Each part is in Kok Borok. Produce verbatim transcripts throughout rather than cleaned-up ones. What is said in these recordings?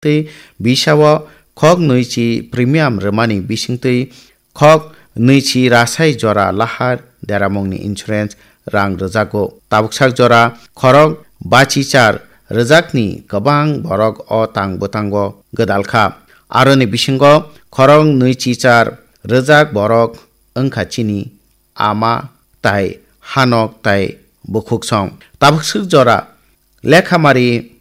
tei bisao khok nwichi premium rwmani bisingtwi khok nwichi rasai jora lahar deramungni insurance rang rwjago. Tabuksak jora khorok bachichar rwjakni kwbang borok o tang bwtango gwdalkha. Aroni bisingo khorok nwichichar rwjak borok wngkha chini ama tai hanok tai bukhuksong. Tabukswk jora lekhamari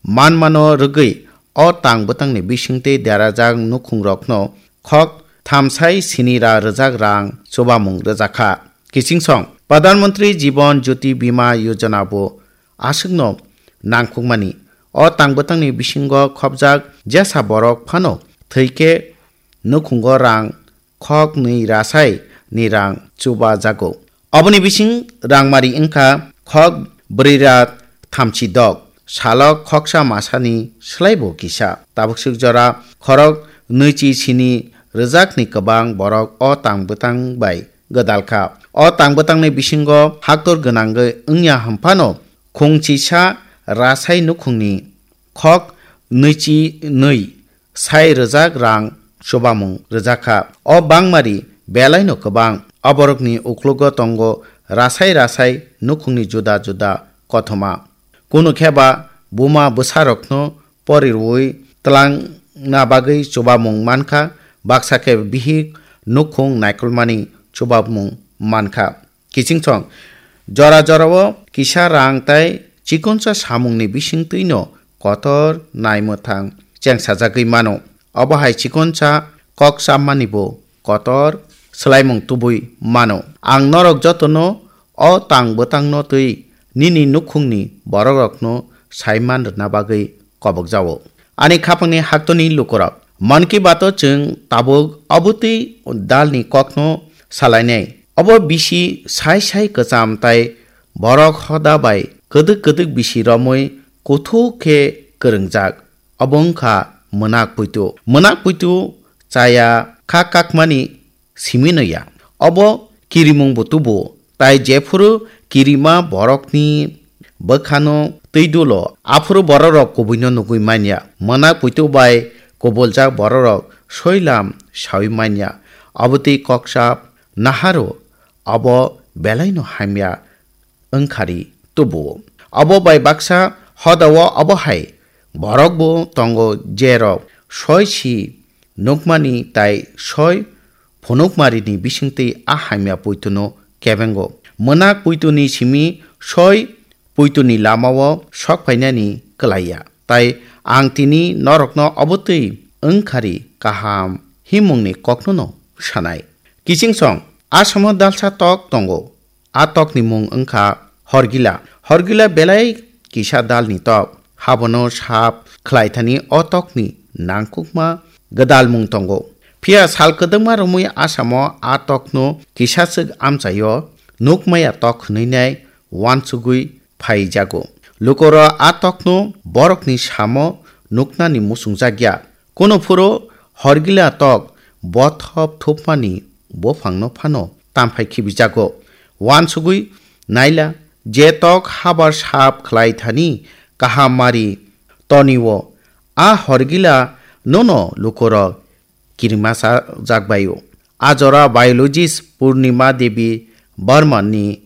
manmano rwgwi o tang bwtangni bisingtwi derajak nukhungrokno khok thamsai sini ra rwjak rang chubamung rwjakha. Kichingsong Pradhan Mantri Jiban Jyoti Bima Yojana bo aswkno nangkukmani. O tang bwtangni bisingo khopjak jesa borok phano thwikhe nukhungo rang khok nwi rasai ni rang chuba jago. Oboni bising rangmari wngkha khok brwi ra thamchi dok, salok khoksa masani swlaibo kisa. Tabukswk jora khorok nwichi sini rwjakni kwbang borok o tang bwtang bai gwdalkha. O tang bwtangni bisingo haktor gwnangwi wngya hwnphano khungchisa rasai nukhungni khok nwichi nwi sai rwjak rang chubamung rwjakha. O bangmari belaino kwbang. Oborokni uklogo tongo rasai rasai nukhungni juda juda kothoma. Kunu khe ba buma bwsarokno pori rwui twlangna bagwi chubamung mankha, baksa khe bihik nukhung naikolmani chubamung mankha. Kichingsong jora jorao kisa rang tai chikonsa samungni bisingtwino kotor naimwthang chengsajagwi mano. Obo hai chikonsa kok chammani bo kotor swlaimung tubui mano. Ang norok jotono o tang bwtangno twi nini nukhungni borokrokno saiman rwna bagwi kobokjao. Ani khapangni haktoni lukurok, Mann Ki Bato chwng tabuk obotwi dalni kokno salainai. Obo bisi sai sai kwcham tai borok hoda bai kwdwk kwdwk bisi romwi kuthuk khe kwrwngjak. Obo wngkha mwnak puitu. Mwnak puitu chaya kha kakmani simi no ya. Obo kirimung bo tubu, tai jephuru kirima borokni bwkhano twi dulo, aphuru bororok kubuino nugwi manya. Mwnak puitu bai kubuljak bororok soilam saui manya. Obotwi koksa naharo, obo belaino hamya wngkhari tubuo. Obo bai baksa hodao obo hai borok bo tongo, jerok soi si nukmani tai soi phunukmarini bisingtwi a hamya puituno kebengo. Mwnak puituni simi soi puituni lamao sok phainani kwlaiya. Tai ang tini norokno obotwi wngkhari kaham himungni koknono sanai. Kichingsong, Assamo dalsa tok tongo. A tokni mung wngkha Horgila. Horgila belai kisa dalni tok. Habono sap khlaithani o tokni nangkukma gwdalmung tongo. Phiya sal kwdwkma romwi Assamo a tokno kisaswk amchaio nukmaya tok hwnwi nai uansugwi phaijago. Lukorok a tokno borokni samo nuknani muchungjakya. Kuno phuru Horgila tok bothop thupmani buphangno phano tamphai khibijago. Uansugwi naila, je tok habar sap khlai thani kaham mari tonio, a Horgila nono lukorok kirima sajak baio. A jora biologist Purnima Devi Barman ni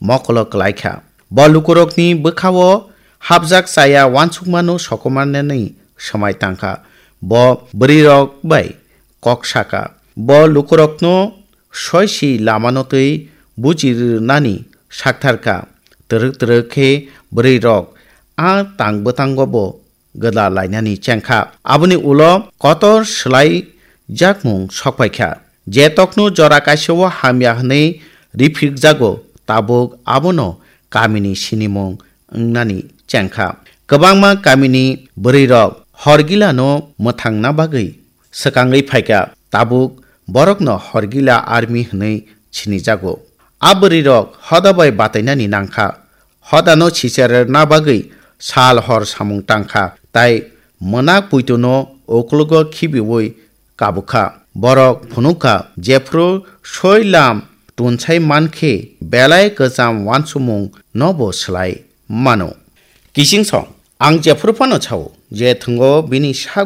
mokolo kwlaikha. Bo lukurokni bwkhao hapjak chaya uansukmano sokomornani swmai tangkha. Bo bwrwirok bai kok saka. Bo lukurokno soisi lamano twi buji rwnani saktharkha. Twrwk twrwk khe bwrwirok a tang bwtango bo gwdal lainani chengkha. Aboni ulo kotor swlai jakmung sokpaikha. Je tokno jora kaisao hamya hwnwi riphikjago, tabuk abono kamini sinimung wngnani chengkha. Kwbangma kamini bwrwirok Horgilano mwthangna bagwi swkangwi phaikha, tabuk borokno Horgila army hwnwi sinijago. A bwrwirok hoda bai batainani nangkha. Hodano sicherna bagwi sal hor samung tangkha, tai mwnak puituno uklogo khibiui kabukha. Borok phunukha, jephru soi lam tunsai mankhe belai kwcham uansukmung nobo swlai mano. Kichingsong, ang jephru phano sao, je thwngo bini sak